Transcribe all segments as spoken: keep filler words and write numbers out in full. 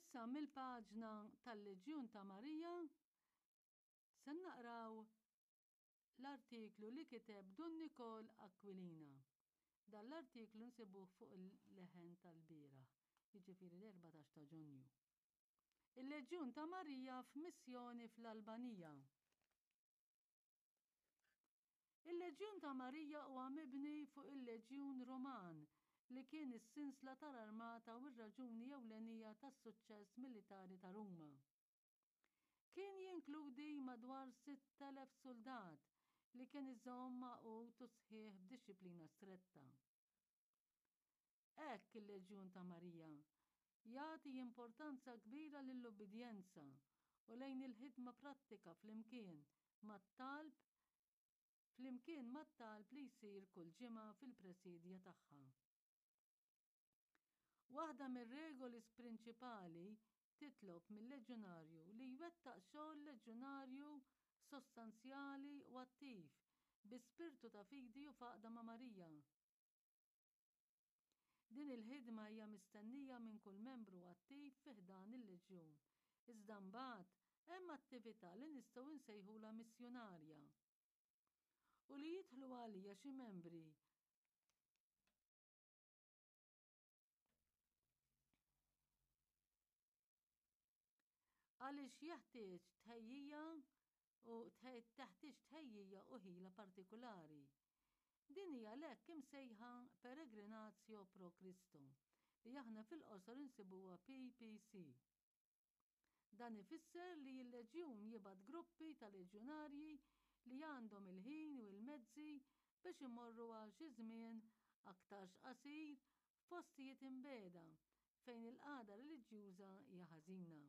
Issa mill-paġna tal-Leġjun ta' Marija se naqraw l-artiklu li kiteb Dun Nikol Aquilina. Dan l-artiklu nsibuh fuq il-Leħen tal-bieraħ, jiġifieri l-erbatax ta' Ġunju. Il-Leġjun ta' Marija f'missjoni fl-Albanija. Il-Leġjun ta' Marija huwa mibni fuq il-Leġjun Ruman li kien is-sinsla tal-armata u r-raġuni ewlenija tas-suċċess militari ta' Ruma. Kien jinkludi madwar sitt elef suldat li kien iżomm magħqud u sħiħ b'dixxiplina stretta. Hekk il-Leġjun ta' Marija jagħti importanza kbira lill-ubbidjenza u lejn il-ħidma prattika flimkien mat-talb flimkien mat-talb li jsir kull ġimgħa fil-presidja tagħha. Waħda mir-regoli prinċipali titlob mill-leġjonarju li jwettaq xogħol leġjonarju sostanzjali u attiv bi spirtu ta' fidi u faqda ma' Marija. Din il-ħidma hija mistennija minn kull membru attiv fi ħdan il-leġjun. Iżda mbagħad hemm attività li nistgħu nsejħulha missjunarja u li jidħlu għalija xi membri għaliex jeħtieġ tħejjija u teħtieġ tħejjija u ħila partikulari. Din hija l-hekk imsejħa Peregrinatio pro Christo, li aħna fil-qosor insibuha P P C. Dan ifisser li l-leġjun jibgħat gruppi ta' leġjonarji li għandhom il-ħin u l-mezzi biex imorru għal xi żmien aktarx qasir f'postijiet imbeda fejn il-qagħda reliġjuża hija ħażina.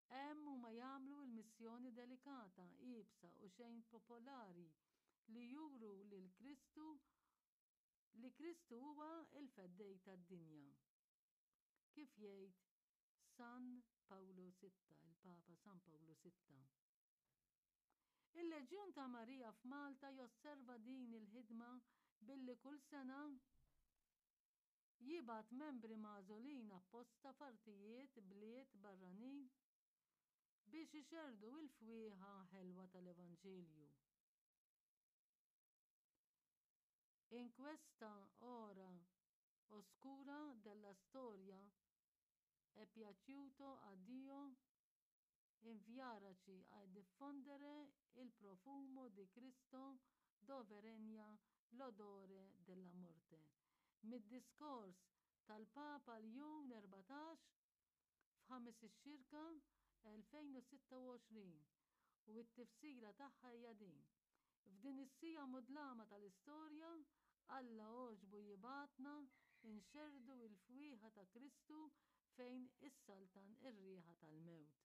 Hemm huma jagħmlu l-missjoni delikata, iebsa u xejn popolari li juru lil Kristu li Kristu huwa l-feddej tad-dinja. Kif jgħid San Pawlu sitta, il-Papa San Pawlu sitta. Il-Leġjun ta' Marija f'Malta josserva din il-ħidma billi kull sena jibgħat membri magħżulin apposta f'artijiet bliet barranin biex ixerrdu l-fwieħa ħelwa tal-Evanġelju. In questa ora oscura della storia è piaciuto a Dio inviarci a diffondere il profumo di Cristo dove regna l'odore della morte. Mid-diskors tal-Papa Ljun erbatax f'Ħamis ix-Xirka elfejn u sitta u għoxrin u t-tifsira tagħha hija din. F'din is-sija mudlama tal-istorja, Alla għoġbu jibgħatna nxerrdu l-fwieħa ta' Kristu fejn issaltan ir-riħa tal-mewt.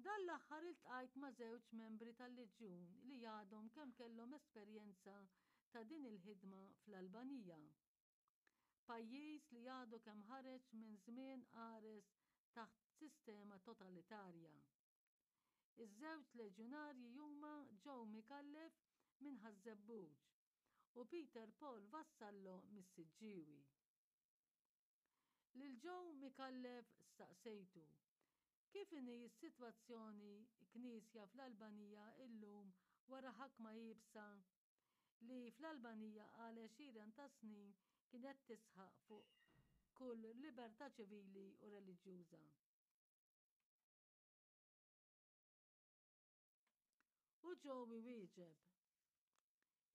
Dan l-aħħar iltqajt ma' żewġ membri tal-Leġjun li għadhom kemm kellhom esperjenza ta' din il-ħidma fl-Albanija. Pajjiż li għadu kemm ħareġ minn żmien qares taħt sistema totalitarja. Iż-żewġ leġjonarji huma Joe Micallef minn Ħaż-Żebbuġ u Peter Paul Vassallo mis-Siġġiewi. Lil Joe Micallef staqsejtu kif inhi s-sitwazzjoni knisja fl-Albanija illum wara ħakma iebsa li fl-Albanija għal għexieren ta' snin kienet tisħaq fuq kull libertà ċivili u reliġjuża. U Joe wieġeb,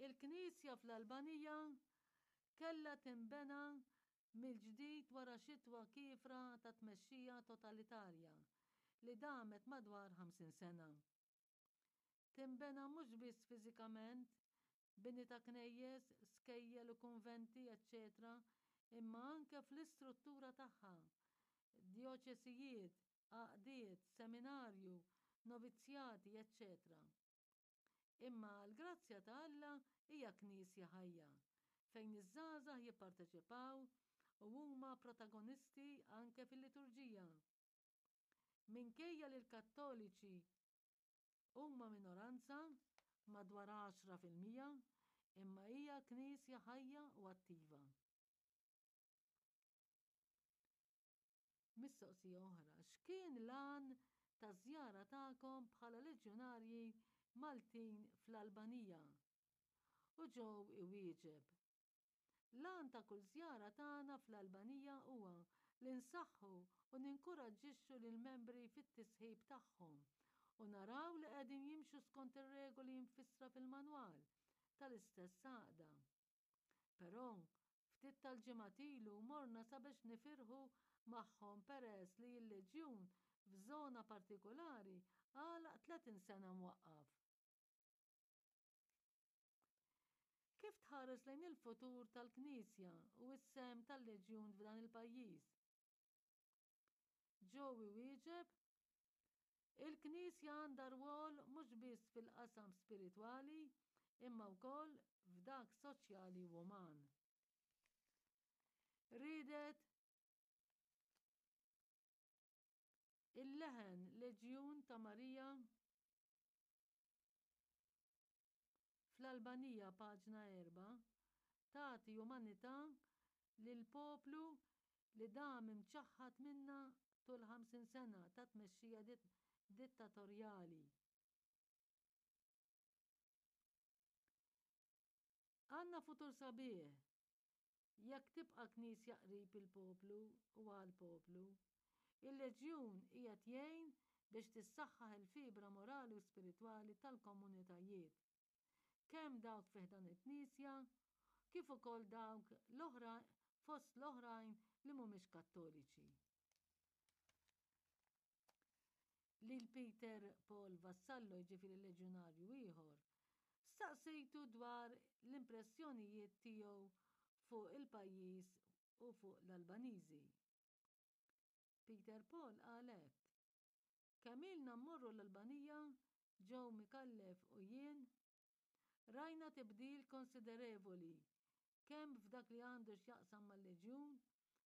il-Knisja fl-Albanija kellha tinbena mill-ġdid wara xitwa kiefra ta' tmexxija totalitarja li damet madwar ħamsin sena. Tinbena mhux biss fiżikament, bini ta' knejjes, skejjel u kunventi, eċċetera, imma anke fl-istruttura tagħha, djoċesijiet, għaqdiet, seminarju, novizzjati, eċċetera. Imma l-grazzja ta' Alla hija knisja ħajja, fejn iż-żgħażagħ jipparteċipaw u huma protagonisti anke fil-liturġija. Minkejja li l-Kattoliċi huma minoranza madwar għaxra fil-mija, imma hija knisja ħajja u attiva. Mistoqsija oħra, x'kien l-għan taż-żjara tagħkom bħala leġjonarji Maltin fl-Albanija? U Joe iwieġeb, L-għan ta' kull żjara tagħna fl-Albanija huwa li nsaħħu u ninkuraġġixxu lill-membri fit-tisħib tagħhom u naraw li qegħdin jimxu skont ir-regoli mfissra fil-manwal tal-istess għaqda. Però ftit tal-ġimgħat ilu morna sabiex nifirħu magħhom peress li l-leġjun f'żona partikolari għalaq tletin sena mwaqqaf. Kif tħares lejn il-futur tal-Knisja u s-sehem tal-Leġjun f'dan il-pajjiż? Joe iwieġeb, Il-Knisja għandha rwol mhux biss fil-qasam spiritwali imma wkoll f'dak soċjali u uman. Riedet il-leħen Leġjun ta' Marija fl-Albanija paġna erbgħa tagħti umanità lil poplu li dam imċaħħad minnha tul ħamsin sena ta' tmexxija dittatorjali. Għandna futur sabiħ jekk tibqa' Knisja qrib il-poplu u għall-poplu. Il-Leġjun qiegħed jgħin biex tissaħħaħ il-fibra morali u spiritwali tal-komunitajiet, kemm dawk fi ħdan il-Knisja kif ukoll dawk l-oħra fost l-oħrajn li mhumiex Kattoliċi. Lil Peter Paul Vassallo, jiġifieri leġjonarju ieħor, staqsejtu dwar l-impressjonijiet tiegħu fuq il-pajjiż u fuq l-Albaniżi. Peter Paul qal hekk, Kemm ilna mmorru l-Albanija, Joe Micallef u jien, rajna tibdil konsiderevoli kemm f'dak li għandu x'jaqsam mal-Leġjun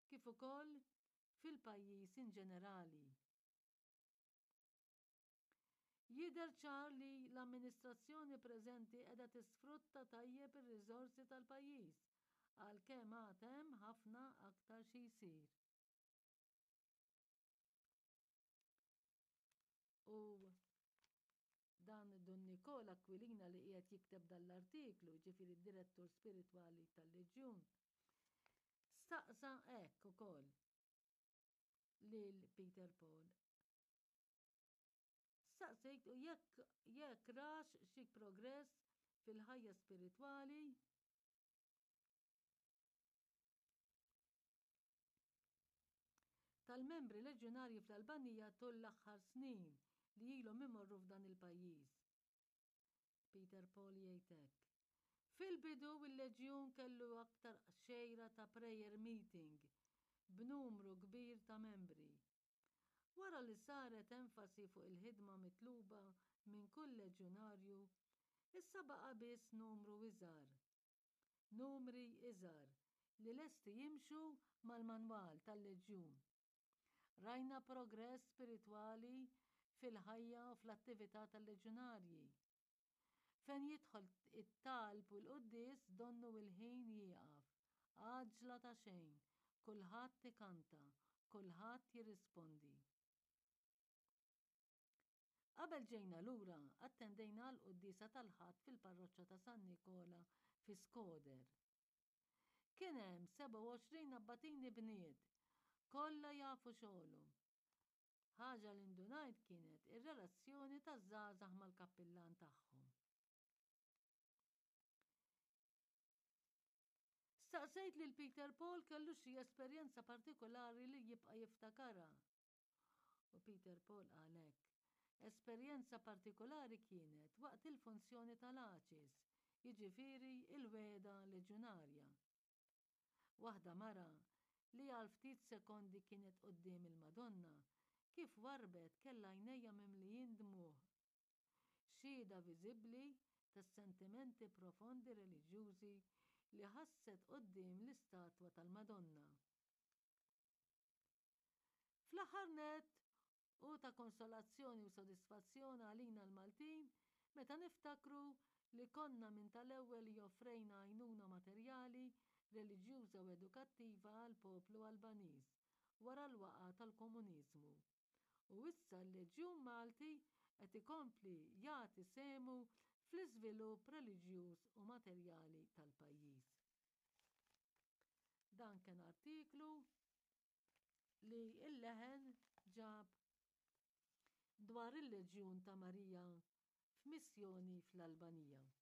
kif ukoll fil-pajjiż inġenerali. Jidher ċar li l-amministrazzjoni preżenti qiegħda tisfrutta tajjeb ir-riżorsi tal-pajjiż, għalkemm għad hemm ħafna aktar xi jsir. U dan Dun Nikola Aquilina li qiegħed jikteb dan l-artiklu, jiġifieri d-direttur spiritwali tal-Leġjun, staqsa hekk ukoll lil Peter Paul. Staqsejtu jekk jekk rax xi progress fil-ħajja spiritwali tal-membri leġjonarji fl-Albanija tul l-aħħar snin li ilhom imorru f'dan il-pajjiż. Peter Paul jgħid hekk. Fil-bidu il-Leġjun kellu aktar xejra ta' prayer meeting b'numru kbir ta' membri. Wara li saret enfasi fuq il-ħidma mitluba minn kull leġjunarju, issa baqa' biss numru iżgħar. Numri iżgħar li lesti jimxu mal-manwal tal-Leġjun. Rajna progress spiritwali fil-ħajja u fl-attività tal-leġjunarji. Fejn jidħol it-talb u l-quddies donnu l-ħin jieqaf. Għaġla ta' xejn, kulħadd ikanta, kulħadd jirrispondi. Qabel ġejna lura, attendejna għall-quddiesa tal-Ħadd fil-parroċċa ta' San Nikola fi Skoder. Kien hemm sebgħa u għoxrin abbatini bniet, kollha jafu xogħolhom. Ħaġa li ndunajt kienet ir-relazzjoni taż-żgħażagħ mal-kappillan tagħhom. Staqsejt lil Peter Paul kellux xi esperjenza partikolari li jibqa' jiftakarha. U Peter Paul qal hekk, Esperjenza partikolari kienet waqt il-funzjoni tal-Aċis, jiġifieri l-wegħda leġjunarja. Waħda mara, li għal ftit sekondi kienet quddiem il-Madonna, kif warrbet kellha għajnejha mimlijin dmugħ. Xhieda viżibbli tas-sentimenti profondi reliġjużi li ħasset quddiem l-istatwa tal-Madonna. Fl-aħħar nett, hu ta' konsolazzjoni u sodisfazzjon għalina l-Maltin meta niftakru li konna minn tal-ewwel li offrejna għajnuna materjali, reliġjuża u edukattiva għall-poplu Albaniż wara l-waqgħa tal-komuniżmu. U issa l-Leġjun Malti qed ikompli jagħti sehmu fl-iżvilupp reliġjuż u materjali tal-pajjiż. Dan kien artiklu li l-Leħen ġab dwar il-Leġjun ta' Marija f'missjoni fl-Albanija.